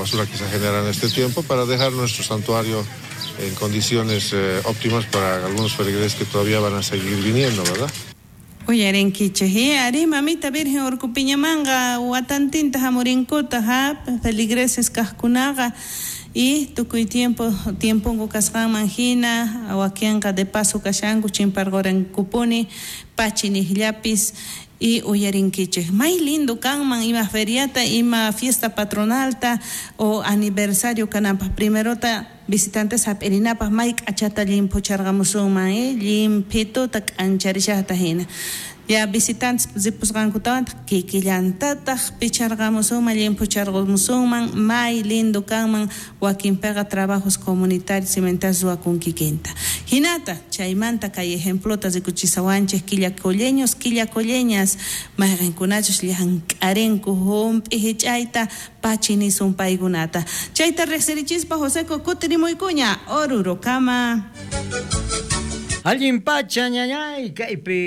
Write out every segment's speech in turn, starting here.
basura que se genera en este tiempo para dejar nuestro santuario en condiciones óptimas para algunos feligreses que todavía van a seguir viniendo, ¿verdad? Uyarinkichej, arí, mamita Virgen Urcupiñamanqa watantinta hamurinkuta, ha, feligreses kajkunaqa y tukuy tiempo tiemponku kasqanman hina wakinqa de paso kashanku chimparqurankupuni pachi niqllapis y uyarinkichej may lindo kanman ima feriata ima fiesta patronalta o aniversario kananpaj primerota visitantes hap'irinapaj may k'achata llimphucharqamusunman llimphituta k'ancharishajta hina ya visitantes ripusqankutawantaq kikillantataq picharqamusunman llimphucharqamusunman may lindo kanman wakinpiqa trabajos comunitarios cimentas ruwakun kikinta hinata chaymanta kay ejemplota rikuchisawanchej quillacolleños quillacolleñas mayqinkunachus llank'arinku hump'i hich'ayta pachi nisun paykunata chayta riqsirichispa Joseco kutirimuykuña Orurokama. Allin pacha ñañay kaypi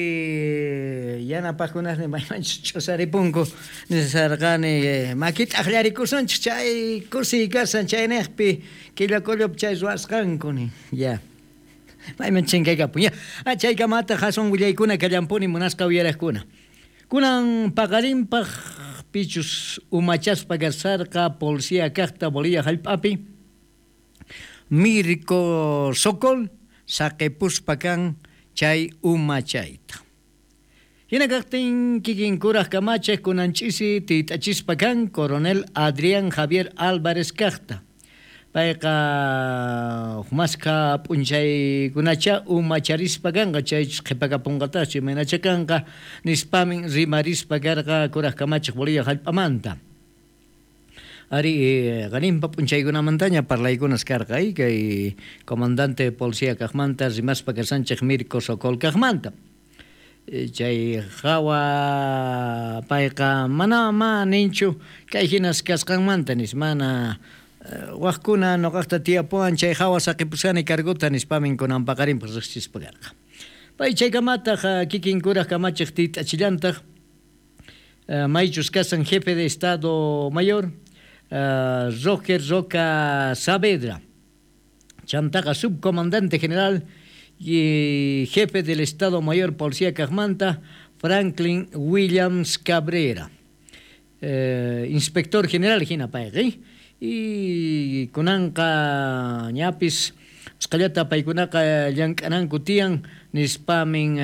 yanapaqkunasni maymanchus ch'usaripunku nisarqani makita aqllarikusunchik chay kusiy kasan chayniqpi Quillacollopi chay ruwasqanku nin ya mayman chinkaykapun ya chaykamataq aswan willaykuna kallampuni munasqa uyaraqkuna kunan paqarinpaq pichus umachaspa kasarqa policía kaqta Bolivia hallp'api Mirko Sokol saqipuspa kan chay umachayta. Hina kaqtin kikin kuraq kamachiq kunan ch'isi tiyt'achispa kan coronel Adrián Javier Álvarez kaqta. Payqa humasqa p'unchaykunacha umacharispa kanqa chaychus qhipakapunqataqchu imaynacha kanqa nispamin rimarispa karqa kuraq kamachiq Bolivia hallp'amanta. Ari qaninpa p'unchaykunamantaña parlaykunas karqa kay comandante policía kaqmanta rimaspa kasanchik Mirko Sokol kaqmanta. Chay hawa payqa mana ma ninchu kay hinas kasqanmanta nis mana waqkuna nuqaqta tiyapuwan chay hawa saqipusqani cargota nispamin kunan paqarinpaq riqsispa karqa. Pay chaykamataq kikin kuraq kamachiq tiyt'achillantaq maychus kasan jefe de Estado Mayor Roger Roca Saavedra, chantaqa subcomandante general y jefe del Estado Mayor Policía Kaqmanta, Franklin Williams Cabrera, inspector general hina payqa y kunanqa ñapis usqhallata paykunaqa llank'ananku tiyan nispamin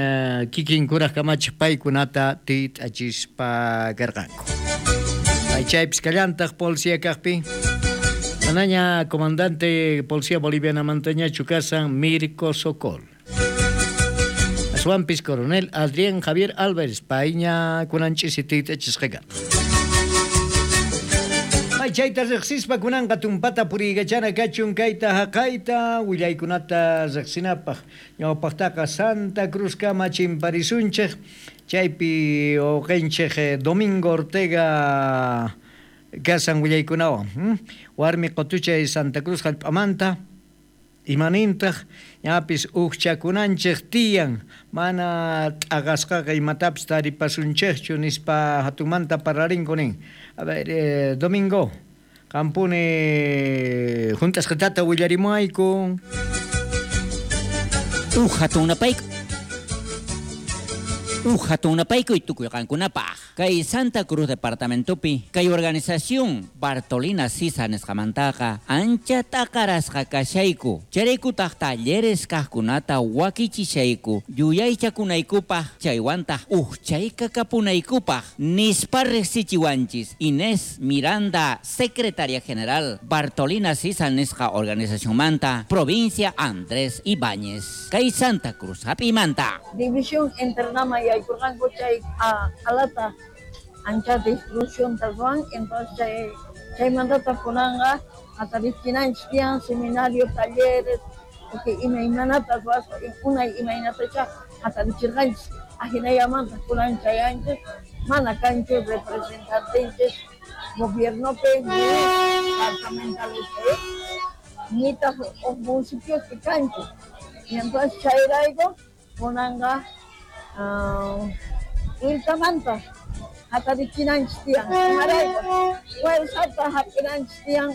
kikin kuraq kamachiq paykunata tiyt'achispa karqanku. Chaypis kallantaq policía kaqpi manaña comandante policía bolivianamantañachu kasan Mirko Sokol. Aswanpis coronel Adrián Javier Álvarez payña kunan ch'isi tiyt'achisqa karqa. May chayta riqsispa kunanqa tumpata puriykachana kachun kayta haqayta willaykunata riqsinapaq ñawpaqtaqa Santa Cruz kama chimparisunchik chaypi uqinchik Domingo Ortega kasan willaykunawan warmi qutuchay Santa Cruz hallp'amanta imanintaq ñapis uqchakunanchik tiyan mana t'aqasqaqa imatapis taripasunchikchu nispa hatunmanta parlarinku nin. A ver, Domingo, qampuni hunt'asqatata willarimuayku. Uj hatunapayku tukuy qankunapaq. Kay Santa Cruz departamentopi kay organización Bartolina Sisa nisqamantaqa ancha t'aqarasqa kashayku. Chayraykutaq talleres kaqkunata wakichishayku yuyaychakunaykupaq chaywantaq ujchaykakapunaykupaq nispa riqsichiwanchis Inés Miranda, secretaria general Bartolina Sisa nisqa organizacionmanta provincia Andrés Ibáñez. Kay Santa Cruz hap'imanta. División internama yaykurqanku chay alata ancha destrucción ruwan, entonces chaymantataq kunanqa hatarichinanchik tiyan seminario, talleres, porque imaymanata ruwaspa unay imaynatacha hatarichirqanchik ahinallamantaq kunan chayanchik mana kanchu representantenchik gobiernopi ni departamentales nitaq huk municipiospi kanchu. Y entonces chayrayku kunanqa willkamanta hatarichinanchik tiyan imarayku fuerzata hap'inanchik tiyan.